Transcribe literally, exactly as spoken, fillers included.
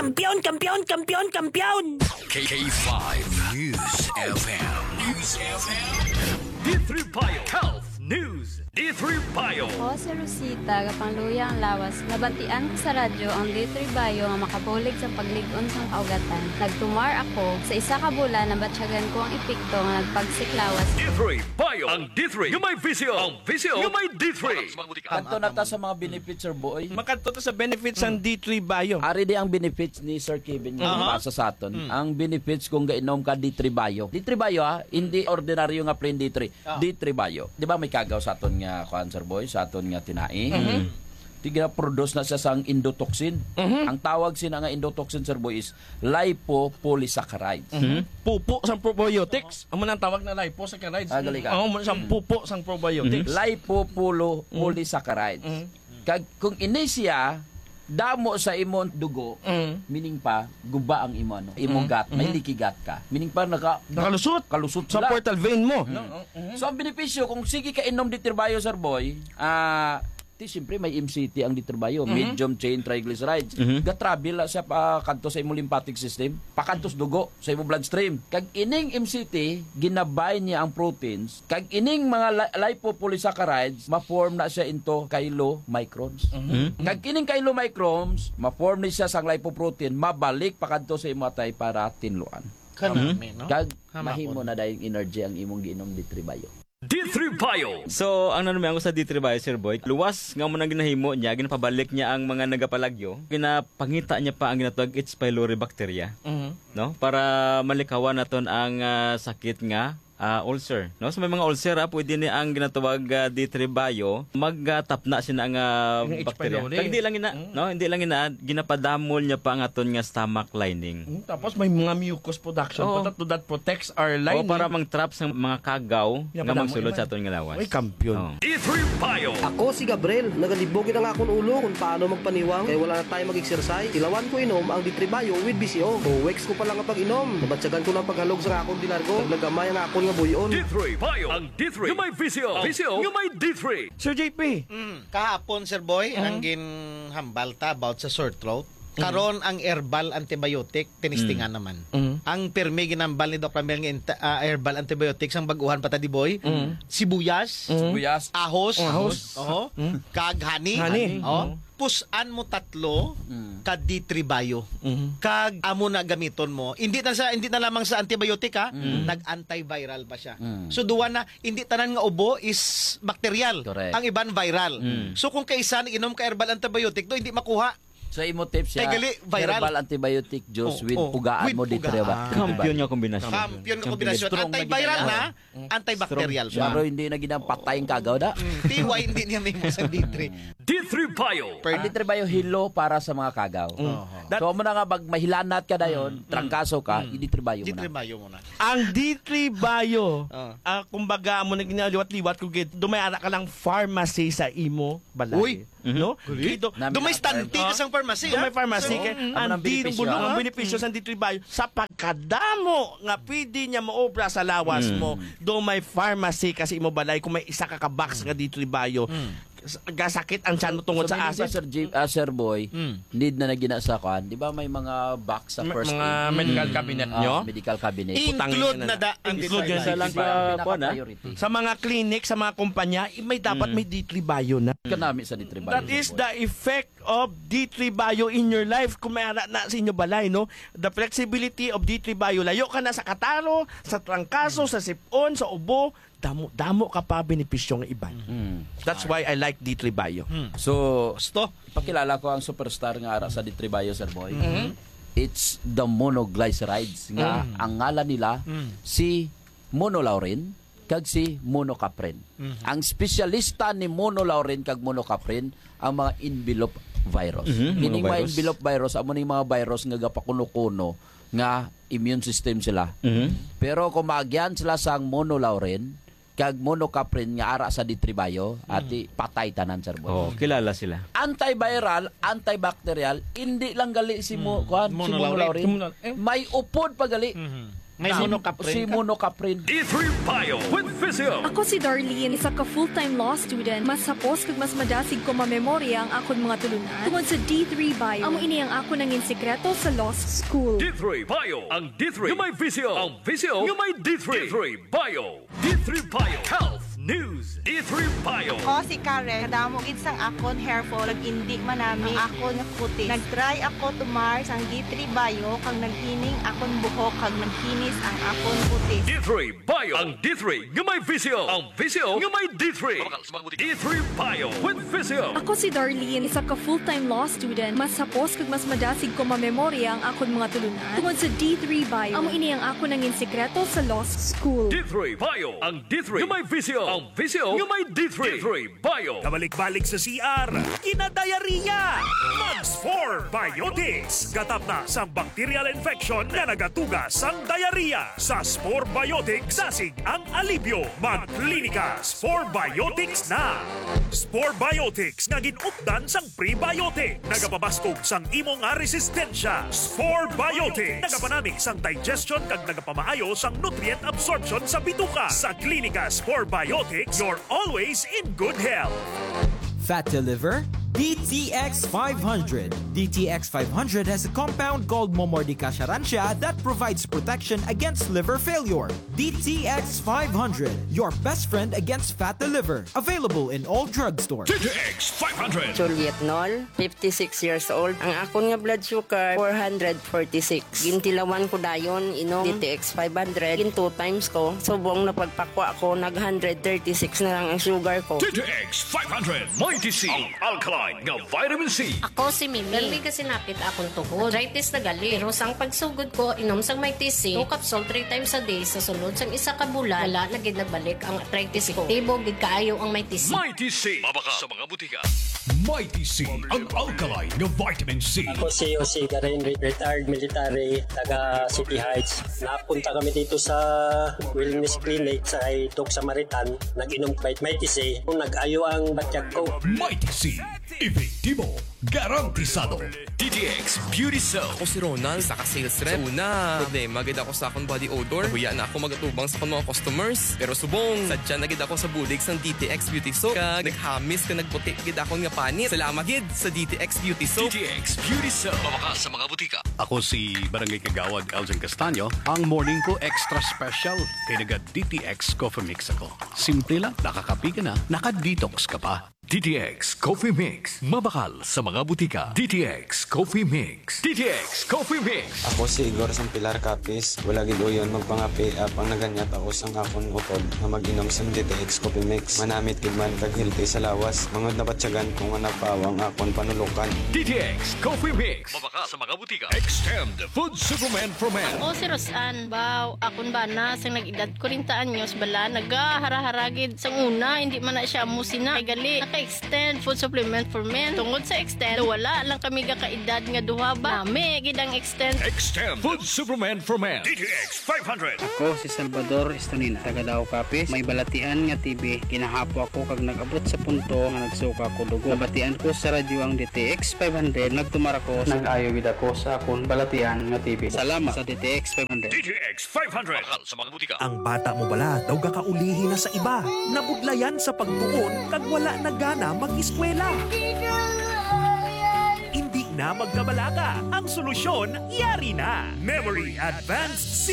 Kampiyon, kampiyon, kampiyon, kampiyon! K five News F M. News F M. D three Bio Health News. D three Bio. Ako si Rosita, kapangluya ang lawas. Nabatian ko sa radyo ang D three Bio nga makabulig sa paglig-on sang kaugatan. Nagtumar ako. Sa isa ka bulan, nabatyagan ko ang epekto nga nagpagsik lawas. D three Bio. Ang D three nga may visyo. Ang visyo nga may D three. Kadto na ta sa mga benefits, Sir Boy. Makadto ta sa benefits sang D three Bio. Ari di ang benefits ni Sir Kevin nga Aha. Pasa sa aton. Mm. Ang benefits kung gainom ka D three Bio. D three Bio, ha, hindi ordinaryo nga plain D three. Ah. D three Bio. Di ba may kagaw sa aton nga kuan, Sir Boy, sa aton nga tinai? Mhm. Tiga-produce na siya sang endotoxin. Mhm. Ang tawag sina nga endotoxin, Sir Boy, is lipopolysaccharides. Mhm. Pupo sang probiotics. Amo nang tawag na lipopolysaccharides. Ah, gali ka. Oo, amo sang pupo sang probiotics. Lipopolysaccharide. Mm. Kag kung ini siya damo sa imong dugo, Mm. meaning pa, guba ang imo, ano, imo Mm. gut, may Mm. leaky gut ka. Meaning pa, naka-, Nakalusot. kalusot Sa sila. portal vein mo. Mm. No, mm. So, ang benepisyo, kung sige ka inom D three Bio, Sir Boy, ah, ti, siyempre, may M C T ang D three Bio, Mhm. medium chain triglycerides. Mhm. Ga-travel na siya pa kadto sa imong lymphatic system, pakadto sa dugo, sa imong bloodstream. Kag ining M C T, ginabay niya ang proteins, kag ining mga li-, lipopolysaccharides, ma-form na siya into chylomicrons. Mhm. Kag kining chylomicrons, ma-form ni siya sang lipoprotein, mabalik pa kadto sa imong atay para tinluan. Kanami, no? Kag Hamahon. mahimo na dayong energy ang imong giinom D three Bio. D three Bio. So, ang nanumyango sa D three Bio, Sir Boy, luwas nga mo nang ginahimo niya, ginapabalik niya ang mga nagapalagyo, ginapangita niya pa ang ginatawag H. pylori bacteria, Mhm. no? Para malikawan naton ang, ah, sakit nga, ah, ulcer, no? So, may mga ulcer, ah, pwede ni ang ginatawag, ah, D three Bio, magtapna sina nga Yung H. bacteria. pylori. Kag hindi lang ina, Mm. no? Hindi lang ina, ginapadamol niya pa ang aton nga stomach lining. Mm, tapos may mga mucus production Oo. pa to that protects our O, lining. para mang-trap sa mga kagaw Nga nga padamo magsulod naman. sa aton nga lawas. Uy, kampiyon. Oo. D three Bio. Ako si Gabriel. Nagalibog ang akon ulo kung paano magpaniwang kay wala na tayo mag-exercise. Tilawan ko inom ang D three Bio with B C O. O weeks ko pa lang ang pag-inom. Nabatyagan ko ng paghalog sa akon di largo. Kag nagamay ang akon nga buyon. D three Bio. Ang D three nga may visyo. Ang visyo nga may D three. Sir J P. Mm. Kahapon, Sir Boy, Mm. ang ginhambal ta about sa sore throat. Mm. Karon ang herbal antibiotic, tinistingan Mm. naman. Mm. Ang pirmi ginambal ni Doc Ramel nga inta-, ah, herbal antibiotic sang bag-uhan pa ta, di, Boy? Mm. Sibuyas, Mm. Sibuyas. ahos, Ahos. oho, Mm. kag honey. Honey. Oh. Mm. Pusan mo tatlo Mm. ka D three Bio. Mm. Kag amo na gamiton mo. Hindi na sa, hindi na lamang sa antibiotic, ha? Mm. Nag-antiviral pa siya. Mm. So, duwa na, hindi tanan nga ubo is bacterial. Correct. Ang iban viral. Mm. So, kung kaisa nag-inom ka herbal antibiotic, do, hindi makuha. So, imo tips siya, Kay gali, viral. herbal antibiotic juice Oh, with oh, pugaan with mo, D three pugaan. Bio. Kampiyon nga kombinasyon. Kampiyon nga Kampiyon. kombinasyon. Strong na Antiviral ginawa. na, Mm. antibacterial Strong. pa. Pero hindi na gid ang patay ang kagaw, da? Mm, T Y hindi niya may mo sa D three. D three Bio. Per- Ang D three Bio hilo para sa mga kagaw. Mm. Oho. That So, amo na nga, pag mahilanat ka dayon, Mm. trangkaso ka, Mm. i-D three Bio mo na. D three Bio mo na. Ang D three Bio, Ah. ah, kumbaga, amo na ginaliwat-liwat ko gid, dumay ara ka lang pharmacy sa imo balay. Uy! Mhm. No? Gali. Kay do, Nami do may na stante ka pharmacy. sang pharmacy, So, ha? Mm. Amo ang ang benepisyo, bulong, ha? ang benepisyo Mm. sa D three Bio, sa pagkadamo nga pwede niya maobra sa lawas Mm. mo, do may pharmacy ka sa imo balay kung may isa ka ka box Mm. nga D three Bio. Mm. S-, gasakit ang tiyan mo tungod So, sa meaning ba, acid. Sir Jim, ah, Sir Boy, Mm. need na na gina sa kuan? Di ba may mga box sa Ma-, first mga aid? medical Mm. cabinet Ah, nyo? medical cabinet. Include Putangin na na da-, ang Include D three Bio. Isa lang Bio. ka, kuan, ah. Pinaka-priority. Sa mga clinic, sa mga kumpanya, i-, may dapat Mm. may D three Bio na. Kanami sa D three Bio, That is Sir Boy. the effect of D three Bio in your life. Kung may ara na sa inyo balay, no? The flexibility of D three Bio. Layo ka na sa kataro, sa trangkaso, Mm. sa sipon, sa ubo. Damo, damo ka pa benepisyo nga iban. Mm. That's why I like D three Bio. Mm. So, Gusto? ipakilala ko ang superstar nga ara sa D three Bio, Sir Boy. Mm-hmm. It's the monoglycerides nga Mm. ang ngalan nila Mm. si monolaurin kag si monocaprin. Mhm. Ang espesyalista ni monolaurin kag monocaprin ang mga envelope virus. Mhm, Kining mga mga virus. envelope virus, amo ning mga virus nga gapakuno-kuno nga immune system sila. Mhm. Pero kung maagyan sila sang monolaurin kag monocaprin nga ara sa D three Bio, Mhm. ati patay tanan, Sir Boy. Oh, kilala sila. Antiviral, antibacterial, hindi lang gali si mo-, Mhm. kuwan, si Monolaurin. monolaurin. Monol-, eh. May upod pa gali. Mhm. May Tama. Monocaprin Si ka? Monocaprin. D three Bio with Visio. Ako si Darlene, isa ka full-time law student. Mas hapos kag mas madasig ko mamemorya ang akon mga tulunan tungod sa D three Bio. Amo ini ang akon nangin sikreto sa law school. D three Bio. Ang D three nga may visyo. Ang visyo nga may D three. D three Bio. D three Bio Health News. D three Bio. Ako si Karen. Kadamo gid sang akon hair fall, kag indi manami ang akon kutis. Nag-try ako tumar sang D three Bio, kag naghining akon buhok, kag naghinis ang akon kutis. D three Bio. Ang D three nga may visyo. Ang visyo nga may D three. D three Bio with Visyo. Ako si Darlene, isa ka full-time law student. Mas hapos kag mas madasig ko mamemorya ang akon mga tulunan tungod sa D three Bio. Amo ini ang akon nangin sikreto sa law school. D three Bio. Ang D three nga may visyo. Ang visyo nga may D three. D three Bio. Kabalik-balik sa C R, kinadayariya. Mag Spore Biotics. Gatap na sang bacterial infection nga nagatuga sang diarrhea. Sa Spore Biotics, dasig ang alibyo. Mag Klinika Spore Biotics na. Spore Biotics nga gin-updan sang prebiotic. Nagapabaskog sang imo nga resistensya. Spore Biotics. Nagapanami sang digestion kag nagapamaayo sang nutrient absorption sa bituka. Sa Klinika Spore Biotics, you're always in good health. Fat to liver? D T X five hundred. D T X five hundred has a compound called Momordica charantia that provides protection against liver failure. D T X five hundred, your best friend against fat to liver. Available in all drugstores. D T X five hundred. Juliet Nol, fifty-six years old. Ang akon nga blood sugar, four hundred forty-six. Gintilawan ko dayon, inom D T X five hundred. Gin two times ko. Subong na pagpakwa ko, nag one hundred thirty-six na lang ang sugar ko. D T X five hundred, Mighty C, ang alkaline nga vitamin C. Ako si Mimi. Permi ka sinapit akong tuhod. Arthritis na gali. Pero sang pagsugod ko, inom sang Mighty C, two capsule three times a day, sa sulod sang isa ka bulan, wala na gid nagbalik ang arthritis ko. Epektibo gid kaayo ang Mighty C. Mighty C. Mabakal sa mga butika. Mighty C, ang alkaline nga vitamin C. Ako si Jose Garin, re-, retired military, taga City Heights. Napunta kami dito sa wellness clinic sa kay Doc Samaritan. Nag-inom kami Mighty C. Nag-ayo ang batyag ko. Mighty C, epektibo, garantisado. D T X Beauty Soap. Ako si Ronald, isa ka sales rep. Sa una, problema gid ako sa akon body odor. Nahuya na ako magatubang sa akon mga customers. Pero subong, sadya na gid ako sa bulig sang D T X Beauty Soap. Kag naghamis kag nagputi gid akon nga panit. Salamat gid sa D T X Beauty Soap. D T X Beauty Soap. Mabakal sa mga butika. Ako si Barangay Kagawad Elgin Castaño. Ang morning ko extra special kay naga D T X Coffee Mix ako. Simple lang, nakakape ka na, naka-detox ka pa. D T X Coffee Mix. Mabakal sa mga butika. D T X Coffee Mix. D T X Coffee Mix. Ako si Igor Sampilar Capiz. Wala gid uyon magpangape, apang naganyat ako sang akon utod nga mag-inom sang D T X Coffee Mix. Manamit gid man kag healthy sa lawas. Mangod nabatyagan ko nga napawa ang akon panulukan. D T X Coffee Mix. Mabakal sa mga butika. Extend Food Supplement for Men. Ako si Roseanne. Baw, akon bana sang nag-edad kwarenta anyos bala, nagahara-hara gid. Sang una, hindi man na siya amo sina. Kay gali, naka-Extend Food Supplement for Men. Tungod sa Extend, wala lang kami gakaedad nga duha ba. Nami gid ang Extend. Extend Food Supplement for Men. D T X five hundred. Ako si Salvador Estonina, taga Dao, Capiz. May balatian nga T B. Ginahapo ako kag nag-abot sa punto nga nagsuka ko dugo. Nabatian ko sa radyo ang D T X five hundred. Nagtumar ako. Nag-ayo gid ako sa akon balatian nga T B. Salamat sa D T X five hundred. D T X five hundred. Mabakal sa mga butika. Ang bata mo bala daw gakaulihi na sa iba? Nabudlayan sa pagtuon kag wala na gana mag-eskwela? Hindi na magkabalaka. Ang solusyon, yari na. Memory Advanced C